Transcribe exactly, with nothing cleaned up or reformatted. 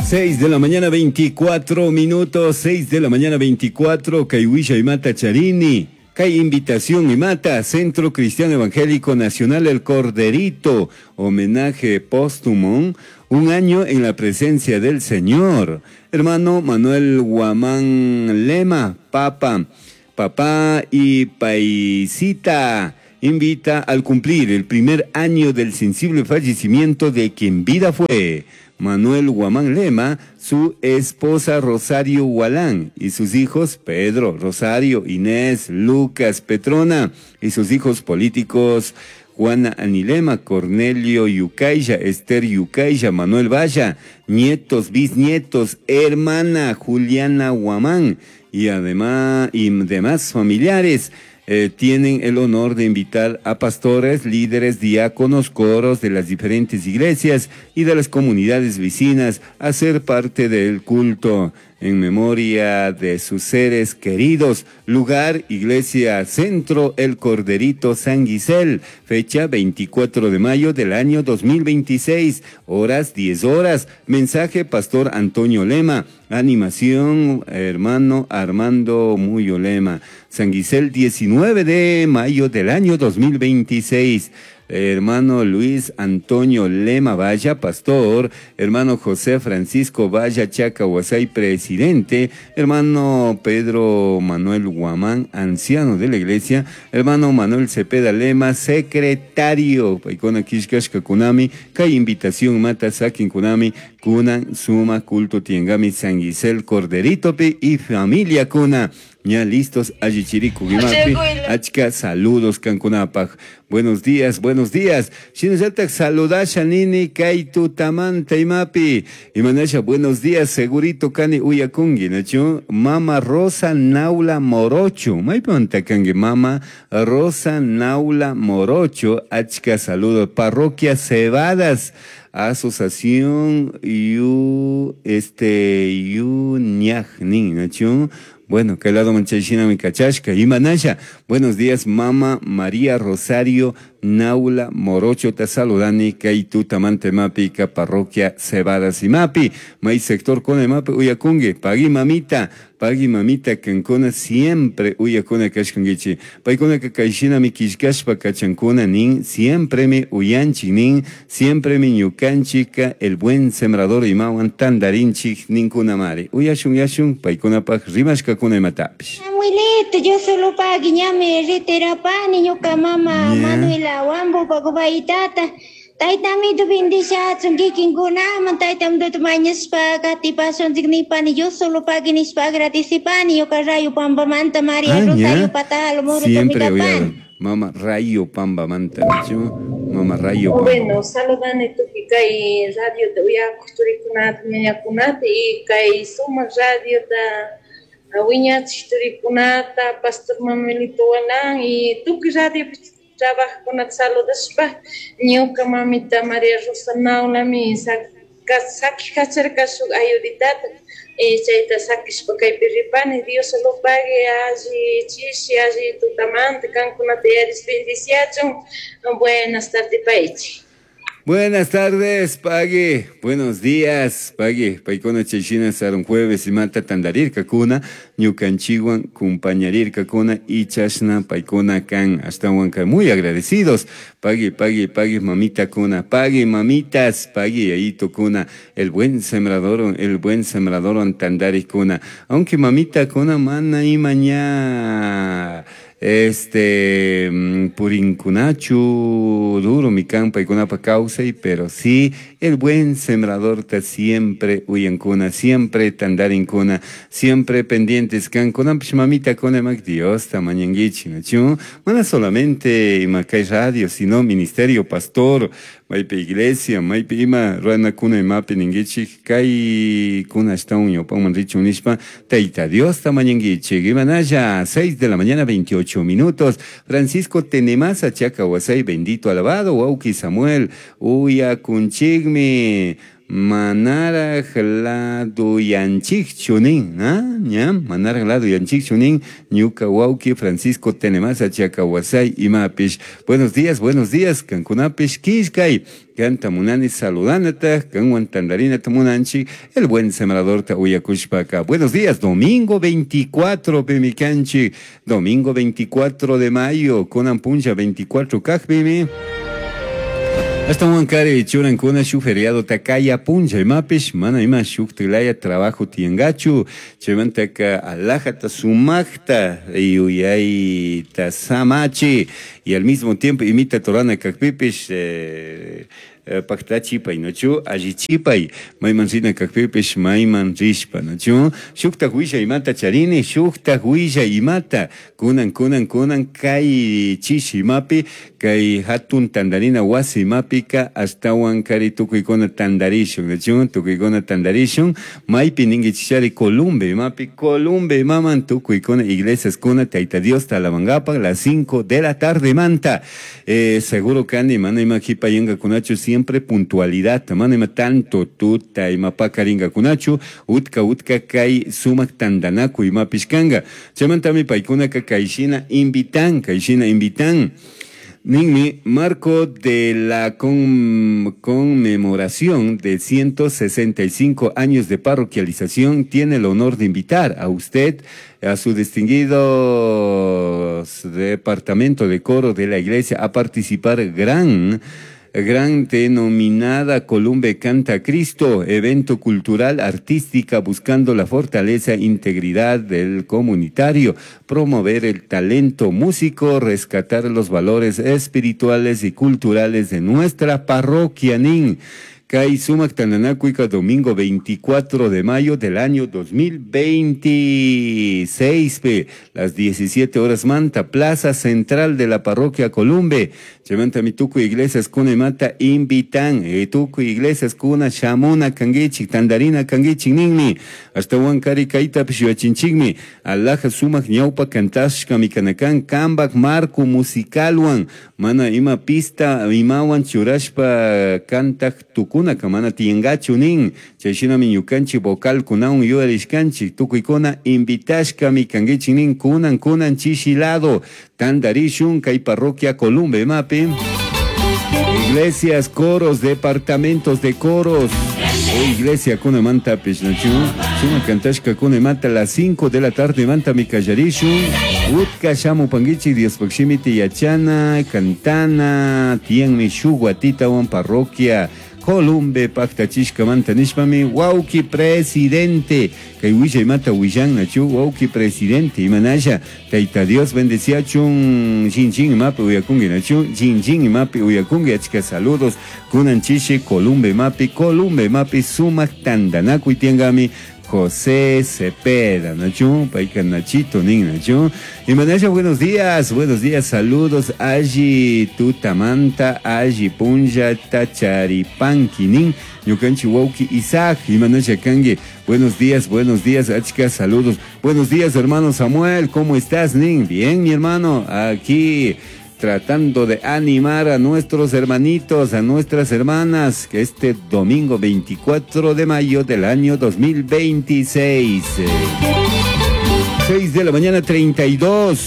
seis de la mañana veinticuatro minutos, seis de la mañana veinticuatro, Kaywisha Imata Charini, Kay invitación Imata, Centro Cristiano Evangélico Nacional El Corderito, homenaje póstumo, un año en la presencia del Señor. Hermano Manuel Guamán Lema, Papa, papá y paisita, invita al cumplir el primer año del sensible fallecimiento de quien vida fue Manuel Guamán Lema, su esposa Rosario Gualán y sus hijos Pedro, Rosario, Inés, Lucas, Petrona y sus hijos políticos Juana Anilema, Cornelio Yucaya, Esther Yucaya, Manuel Valla, nietos, bisnietos, hermana Juliana Guamán y además y demás familiares. Eh, tienen el honor de invitar a pastores, líderes, diáconos, coros de las diferentes iglesias y de las comunidades vecinas a ser parte del culto en memoria de sus seres queridos. Lugar, Iglesia Centro El Corderito San Guisel, fecha veinticuatro de mayo del año dos mil veintiséis, horas diez horas. Mensaje, Pastor Antonio Lema. Animación, hermano Armando Muyo Lema. San Guisel, diecinueve de mayo del año dos mil veintiséis. Hermano Luis Antonio Lema Valla, pastor. Hermano José Francisco Valla Chacahuasay, presidente. Hermano Pedro Manuel Guamán, anciano de la iglesia. Hermano Manuel Cepeda Lema, secretario. Paikona Kishkashka Kunami, Kay invitación Mata Sakin Kunami, Kunan Suma Culto Tiengami San Guisel Corderitopi y familia Kuna. Ya listos, Allichiriku Gimapi, Achka, saludos Cancunapaj. Buenos días, buenos días. Shinallatak saludasha nini kaitu tamanta imapi. Imanasha, buenos días, segurito kani uyakungi, nachu. Mama Rosa Naula Morocho. Maipanta kangi, Mama Rosa Naula Morocho. Achka, saludos. Parroquia Cebadas. Asociación Yu, este, Yu Ñaj, nin, nachu. Bueno, que lado manchachina mi cachashka. Imanasha, buenos días, Mama María Rosario Naula Morocho, te saludani, kaitu tamante mapi, ka parroquia Cebadas y mapi, mai sector con el mapi, uyakungue, pagui mamita, pagui mamita, cancona siempre, uyakuna kashkangichi, paikuna ka kaishina mi kishkashpa kachankuna nin, siempre mi uyanchi nin, siempre mi ñukanchika, el buen sembrador imawan tandarinchi ninkuna mari, uyashun yashun, paikuna paj rimashka kuna imatapish. Abuelito, yo solo pagui ñame reterapani, ñuka mama, yeah. Manuela Wambo pagubaytata taytamito bendiciatsun kikinkunaman taytamito mañashpa qatipasunchik nipani yo solo paguinishpa agradecipani ñuka Rayo Pambamanta María ah, Rosario Patalo Moro siempre voy Mama Rayo Pambamanta, Mama Rayo Pamba. Bueno, saludani tukuy kay radio uyakuq turikunata ñañakunata y kay sumaq radiota wiñachiq turikunata Pastor Manuelito Gualán y tukuy radio trabajo con saludashpa ñuka mamita María Rosa Naulami saki kacharka shuk ayuditata chayta sakishpa kaypi ripani Dios lo pague alli chishi alli tutamanta kankunata yaris bendiciachun. Buenas tardes paichi. Buenas tardes, Pagui. Buenos días, Pagui. Paikona chayshina sarun jueves y mata tandarirka kuna, ñukanchiwan kumpañarirka kuna y chashna paikona kan ashtawan kan. Muy agradecidos. Pagui, pagui, pagui, mamita kuna, pagui, mamitas, pagui, ayito kuna, el buen sembrador, el buen sembrador tandari kuna. Aunque mamita kuna mana y mañana. Este, purinkunachu, duro mi campa y kunapa causai, pero sí, el buen sembrador ta siempre uyankuna, siempre tandarinkuna, siempre pendientes kan kunampish mamita kuna mak Dios ta mañanguichi, nachu, mana solamente imakay radio, sino ministerio, pastor, maypi iglesia, maypi ima ruana kuna imapi ninguichi, kay kuna ashtawan ñawpaman richun nishpa, Tayta Dios ta mañanguichi, imanaya, seis de la mañana, veintiocho minutos. Francisco Tenemasa, Chacahuasay, bendito alabado, Wauki Samuel, Uya Kunchigmi, Manaraj laduyanchikchu nin, ¿ah? ¿Ya? Manaraj laduyanchikchu nin, ñuka wawki Francisco Tenemasa Chacawasay imapish. Buenos días, buenos días, kankunapish kishkay. Kanta munani saludanata, kanwan tandarinata munanchi, el buen sembrador ta uyakushpaka. Buenos días, domingo veinticuatro, pimikanchi, domingo veinticuatro de mayo, kunan puncha veinticuatro kajpimi. Hasta huancari churankuna shuk feriado takaya puncha imapish, mana ima shuk tilaya trabajo tiangachu, chaymantaka alajata sumakta yuyayta samachi, y al mismo tiempo imita torana kakpipish, eh, paktachipay, ¿no chu? Allichipay, mayman rina kakpipish, mayman rishpa, ¿no chu? Shukta huilla imata charini, shukta huilla imata, kunan, kunan, kunan, kay chishi imapi, kay hatun tandarina wasi imapika, ashtawan kari tukuykuna tandarishun, ¿no chu? Tukuykuna tandarishun, maypi ningichishari Columbe imapi, Columbe imaman tukuykuna iglesias kuna, Tayta Dios talamangapak, las cinco de la tarde manta. Eh, seguro kani, mana ima jipayanka kunachu, siempre puntualidad, mana ima tanto tuta ima pakaringa kunachu, utka utka kay sumak tandanaku ima pishkanga. Chaymantami paykunaka kayshina invitan, kayshina invitan. Ninmi, marco de la con, conmemoración de ciento sesenta y cinco años de parroquialización, tiene el honor de invitar a usted, a su distinguido departamento de coro de la iglesia, a participar gran, gran denominada Columbe Canta Cristo, evento cultural artística buscando la fortaleza e integridad del comunitario, promover el talento músico, rescatar los valores espirituales y culturales de nuestra parroquia nin. Kay sumak tandanakuika domingo veinticuatro de mayo del año dos mil veintiséis, pe, las diecisiete horas manta, Plaza Central de la Parroquia Columbe. Chaymanta mi tukuy iglesias kuna imata invitan, e tukuy iglesias kuna shamuna kangichik, tandarina kangichik ninmi. Hasta huancari kayta pishuyachinchikmi. Alaja sumak ñawpa kantashka mikanakan kambak marco musicalwan. Mana ima pista imawan churashpa kantak tukuna kamana tiengachu nin. Chayshinami ñukanchik vocal kunawan yuyarishkanchik tukuykuna invitashkami kangichik nin kunan kunan chishilado. Tandarishun kay parroquia Columbe mapi. Iglesias, coros, departamentos de coros. O iglesia kuna manta pishnachu. Suma kantashka kuna manta las cinco de la tarde manta mi kallarishun. Utka shamu pangichi Dios pakshimiti yachana, cantana, tianmi shuguatitawan parroquia Columbe paktachishka manta nishpami wauki presidente kay wishay mata willan nachu wauki presidente imanasha Tayta Dios bendeciachun chin imapi uyakungi nachu chin chin imapi uyakungi achka saludos kunan chishi Columbe mapi Columbe mapi sumak tandanakuy tiangami José Cepeda, Nachu, Paica Nachito, Nin Nachu. Y Manasha, buenos días, buenos días, saludos, Aji Tutamanta, Aji Punja, Tacharipanqui, Nin, Ñukanchi Wauki, Isaac, y Manasha Kangue, buenos días, buenos días, Achka, saludos. Buenos días, hermano Samuel, ¿cómo estás, Nin? Bien, mi hermano, aquí tratando de animar a nuestros hermanitos, a nuestras hermanas, que este domingo veinticuatro de mayo del año dos mil veintiséis, seis de la mañana treinta y dos.